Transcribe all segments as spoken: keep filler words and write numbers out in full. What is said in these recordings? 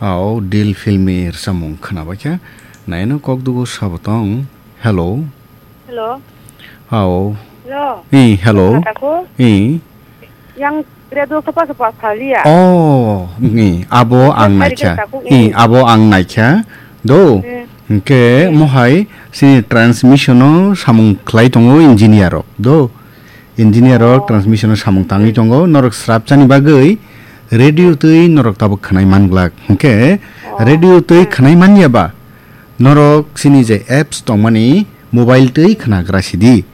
Ao, Dil filmni rwchapmung khnabaikha. Naino kok dugo sabo tong. Hello. Hello. Ao. Hello. I, hello. Kha taku? I. Yang radio sapa sapa salia. Oh, i, abo ang Yang naikha. Hari taku, I, i. Abo ang naikha. Do. Hmm. Hingke mohai sini transmission o samung khlai tongo engineer rok. Do. Engineer rok Oh. Transmission o samung tangwi tongo. Norok srapchani bagwi radio twi norok tabuk khwnai manglak. Hingke Oh. radio twi Hmm. khwnai manya ba norok sini je apps tongmani mobile twi khwnagra sidi.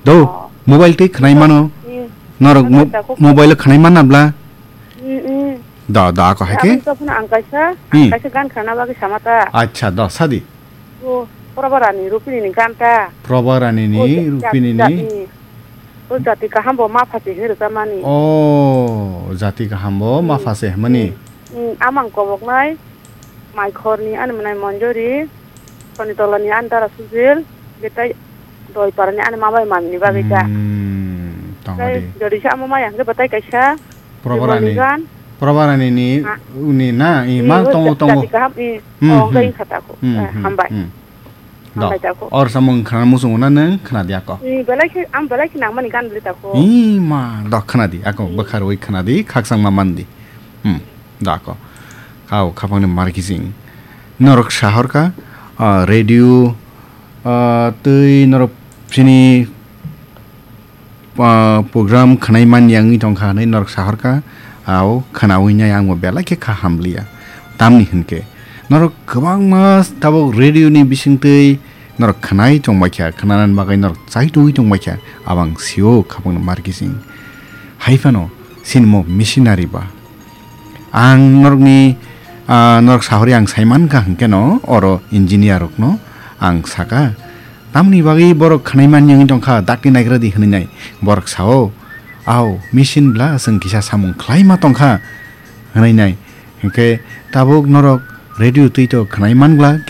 Do, Oh. mobile twi khwnai mano. Hmm. Norok Ang mo-, kaisa kok- mobile o khwnai manna bla. Hmm, hmm. Da, da, ko hai ke? Ang kaisa phano ang kaisa, Hmm. ang kaisa gan khana bagwi samata. Acha, da, sadi. O, Probarani Rupini ni gan ta. Probarani ni, O, ja-, Rupini ni. Jati. O, jati kaham bo ma phasi hero ta mani. O, jati kaham bo ma Hmm. phasi hmani. Hmm, hmm, amang kobok nai. Maikhorni ani mwnai Monjori, Sonitolani ani dara Sujil, betai Doiparani ani mabai mamini bagwi ta. Hmm, tong Tei adi. Jodi se amo maya hwnkhe betai kaisa Probarani. Bimolni gan. Probarani ni Ha? uni na, i Ni ma o tongo, ja-, tongo. Jati kaham, i, Hmm, oh, hmm. Hwnkhe wngkha tako. Hmm, Eh, hmm, hambai. Hmm. Do. Hambai tako. Or samung khana muchungo na nang khana di ako. I belai khe, ang belai khe nangmani gan bwlwi tako. I ma, do khana di ako, Hmm. Bwkha rwi khana di, khakchangma man di. Hmm. Dako. Kau khapangni markising. Norok sahorka, ah, radio, ah, twi norok sini, ah, program khwnai man yangwi tongkha hwnwi norok sahorka. Au khwnawi nai ang bo belai khe kha hamliya. Tamni hwnkhe norok kwbangma tabuk radio ni bisingtwi norok khwnai tongbaikha, khwnanani bagwi norok chaitugwi tongbaikha. Abang sio khapangni markising. Hai phano sinimo missionary ba. Ang norokni, ah, norok sahori ang saimankha hwnkhe no, oro engineer rokno ang saka, "Tamni bagwi borok khwnai man wngwi tongkha, dakti naigra di," hwnwi nai. Borok sao, "Ao, machine bla chwng kisa samung khlaima tongkha," hwnwi nai. Hwnkhe tabuk norok radio twi to khwnai man glak.